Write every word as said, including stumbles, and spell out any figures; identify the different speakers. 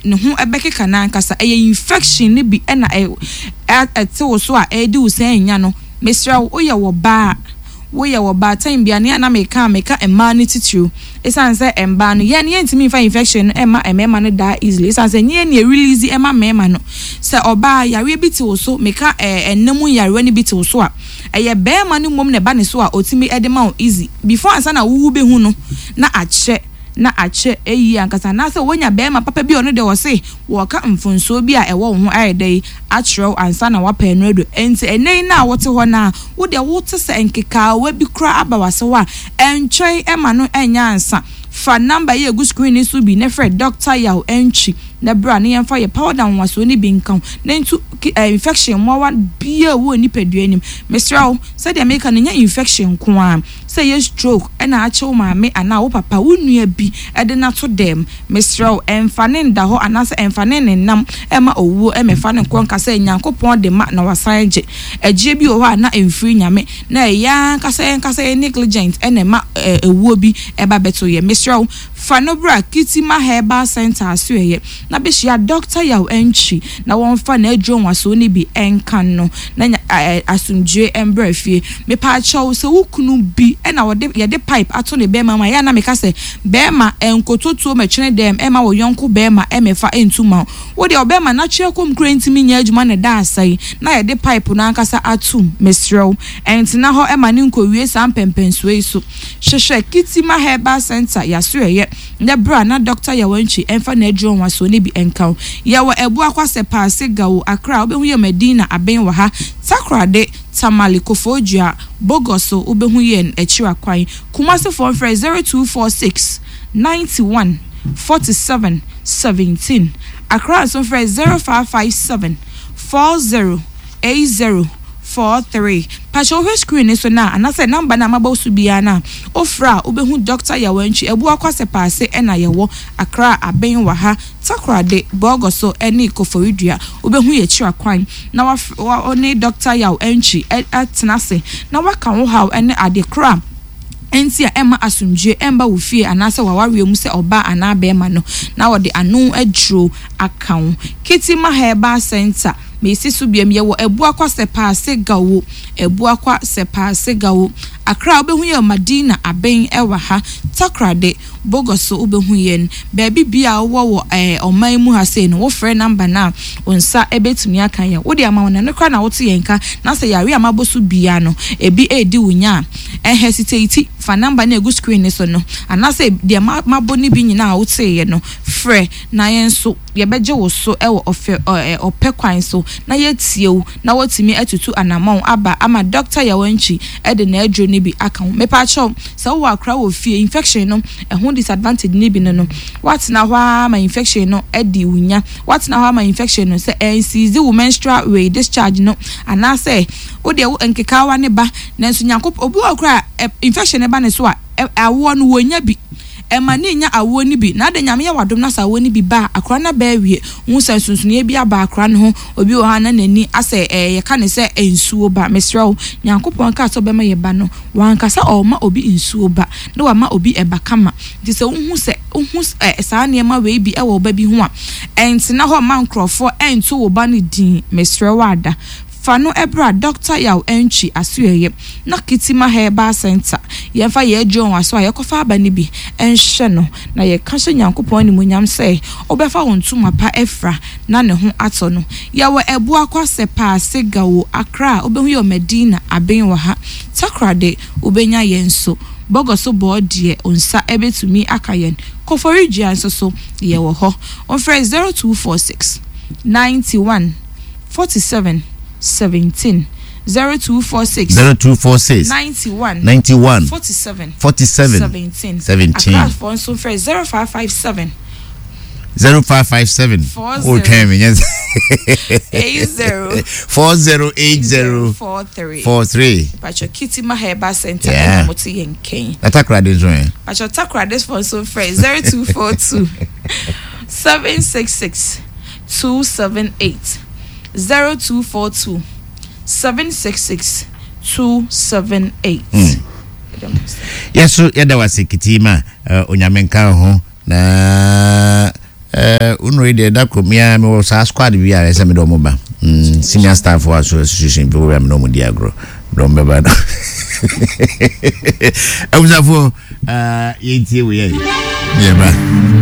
Speaker 1: Ne ho ɛbɛkeka n'ankasa. Ɛyɛ infection ne bi ɛna ɛte wo so a ɛredi wo sɛn nya no. Mesrɛ wo, woyɛ wɔ baa, woyɛ wɔ baatan bia ne ana meka meka mmaa no titiriw, ɛsiane sɛ mmaa no yɛn yɛntumi nfa infection no ɛma mmarima no daa easily, ɛsiane sɛ nyɛ nea release ɛma mmarima no. Sɛ ɔbaa yareɛ bi te wo so, meka ɛɛ ɛnam yareɛ no bi te wo so a, ɛyɛ bɛrima no mmom na ɛba ne so a otumi ɛde ma wo easy before ansa na wuwu bɛhu no na akyɛ na akyɛ eyi ankasa, anaasɛ wonya bɛrima papa bi a ɔno deɛ wɔse wɔka mfonsuo bi a ɛwɔ wo ho ayɛ dɛ akyerɛw ansa na wapɛ no ado. Nti ɛnɛ yi na wote hɔ na wo deɛ wote sɛ nkekaawa bi kora aba wase hɔ a, ɛntwɛn ɛma no ɛnyɛ ansa. Fa number yi egu screen ni so bi ne frɛ Doctor Yaw Ɛntwi na bra ne yɛmfa yɛ powder nwasoɔ ne bi nka ho na ntu infection mmoawa bia wɔ nipadua anim. Mesrɛ wo, sɛdeɛ meka no, nyɛ infection nko a, sɛ yɛ stroke ɛna akyɛw maame anaa wo papa, wo nua bi ɛde n'ato dɛm, mesrɛ wo, ɛmfa ne nda hɔ anaasɛ ɛmfa ne nenam ɛma owuo ɛmɛfa ne nkɔ nka sɛ Nyankopɔn de ma na wasan gye. Ɛgyeɛ bi wɔ hɔ a na ɛmfiri Nyame, na ɛyɛ ankasa yɛnkasa yɛ negligent ɛna ɛma ewuo bi ɛba bɛto yɛ. Mesrɛ wo, fa no bra Kitima Herbal Center aso ɛyɛ na bɛhyia Doctor Yaw Ɛntwi na wɔmfa n'aduro nwasoɔ no bi ɛnka no na asomdwe ɛmbrɛ fie. Mepaakyɛw, sɛ wo kunu bi ɛna wɔde yɛde pipe ato ne bɛrima mu a, yɛ na meka sɛ bɛrima ɛnkototuo mɛtwene dɛm ɛma wɔ yɔnko bɛrima ɛmɛfa ɛntu ma wo deɛ. Ɔbɛrima n'atwerɛ kɔm kura ntumi nyɛ adwuma na ɛda asa yi na yɛde pipe no ankasa atum, mesrɛ wo, ɛntena hɔ ɛma ne nkɔwie saa mpɛmpɛnsoɔ yi so. Hwehwɛ Kitima Herbal Center yaso ɛyɛ na bra na Doctor Yawantwi ɛmfa n'aduro nwasoɔ no bi ɛnka wo. Yɛwɔ Ɛbuakwa sɛ Paase Gawo, Accra wobɛhu yɛ Madina abɛn wɔ ha, Takorade, Tamale, Koforidua, Bogoso wobɛhu yɛn akyiri akwan. Kumasefoɔ mfrɛ zero two four six ninety-one forty-seven seventeen. Accra nso mfrɛ zero five five seven forty eighty forty-three. Pakyɛ, wohwɛ screen ni so na anaasɛ number na mabɔ so biara na ofra a, wobɛhu Doctor Yawantwi. Ɛbuakwa sɛ Paase ɛna yɛwɔ Accra abɛn wɔ ha, Takorade, Bɔgɔso ɛne Koforidua wobɛhu yɛ akyiri akwan na waf wa ne Doctor Yaw Ɛntwi ɛtena ase na waka wo haw ɛne ade kora nti a ɛma asomdwe ɛmba wo fie anaasɛ wawareɛ mu sɛ ɔbaa anaa bɛrima no, na wɔde ano aduro aka wo. Kitima Herbal Center, mesi so biam, yɛwɔ Abuakwa sɛ Paase Gawo, Abuakwa sɛ Paase Gawo, Accra wobɛhu yɛ Madina abɛn ɛwɔ ha, Takorade, Bogoso wobɛhu yɛn. Baabi bia wowɔ wɔ ɛɛ ɔman mu ha sei no, wofrɛ number no a, wo nsa ɛbɛtumi aka yɛn. Wode ama wɔn no kora na wote yɛn ka na sɛ yare a mabɔ so bia no ebi edi wo nya a, ɛhesitate, fa number no egu screen ne so no anaasɛ deɛ mabɔ no bi nyinaa a woteeɛ no, frɛ na yɛn nso yɛbɛgye wo so ɛwɔ ɔfɛ ɛɛ ɔpɛ kwan so na yɛtie wo na wɔtumi atutu anammɔn aba ama Doctor Yawantwi ɛde n'aduro no bi aka ho. Mepaakyɛw, sɛ wowɔ akora wɔ fie, infection no ɛho disadvantage ne bi no no watena hɔ ara ma infection no ɛdi wo nya, watena hɔ ama infection no sɛ ɛnsiizi wo menstrual way discharge no, anaasɛ wodeɛ wo nkekaawa ne ba. Nanso Nyankopɔn, obi wɔ kora a infection ne ba ne so a, awoɔ no wɔnya bi, ɛma ne nya awoɔ no bi na ade. Nyame yɛ wadom na sɛ awoɔ no bi ba a, akora no bɛɛ wie hu sɛ nsonsonoeɛ bi aba akora no ho. Obi wɔ ha na n'ani asɛ ɛɛ yɛka ne sɛ nsuo ba. Mesrɛ wo, Nyankopɔn kaa sɛ ɔbɛma yɛ ba no, wankasa ɔma obi nsuo ba na wama obi ɛba kama. Nti sɛ wohu sɛ wohu ɛ saa nneɛma wei bi ɛwɔ ɔba bi ho a, ɛntena hɔ ma nkurɔfoɔ ɛnto wo ba no din. Mesrɛ wo, ada fa no ɛbra Doctor Yaw Ɛntwi asoɛyɛ na Kitima Herbal Center yɛmfa yɛ aduro wɔn aso a yɛkɔfa aba no bi ɛnhyɛ no na yɛka hyɛ Nyankopɔn animuonyam sɛ ɔbɛfa wɔn ntoma pa ɛfra na ne ho atɔ no. Yɛwɔ Ɛbuakwa sɛ Paase Gawo, Accra wobɛhu yɛ Madina aben wɔ ha, Takorade wobɛnya yɛn so, Bɔgɔ so bɔɔ deɛ nsa ɛbɛtumi aka yɛn, Kɔfɔridua nso so yɛwɔ hɔ. Ɔmfrɛ zero two four six ninety-one forty-seven seventeen, zero two four six
Speaker 2: zero two four six
Speaker 1: ninety-one
Speaker 2: ninety-one
Speaker 1: forty-seven
Speaker 2: forty-seven
Speaker 1: seventeen.
Speaker 2: seventeen.
Speaker 1: Accra nso frɛ zero five five seven
Speaker 2: zero five five seven
Speaker 1: four
Speaker 2: o twɛn mi nyɛ
Speaker 1: eight zero
Speaker 2: four zero eight zero
Speaker 1: four three.
Speaker 2: four three.
Speaker 1: Patro, Kitima Herbal Center
Speaker 2: Yeah.
Speaker 1: ɛna mo te yɛn kɛn.
Speaker 2: Na Takoradi nso ɛ?
Speaker 1: Patro, Takoradi fo nso frɛ zero two four two seven six six two seven eight, zero two four two seven six six two seven eight.
Speaker 2: Yɛso yɛda wase, Kitima. uh, Onyame nka wo ho na Eh, unu yi deɛ, da koro mea mewɔ saa squad bi a ɛsɛ mede ɔmo ba. Mm, senior staff wɔ association bi wɔ a mene ɔmo di agorɔ, mede ɔmo bɛba no. Abusafoɔ, uh, yɛntie wei yɛ yɛba.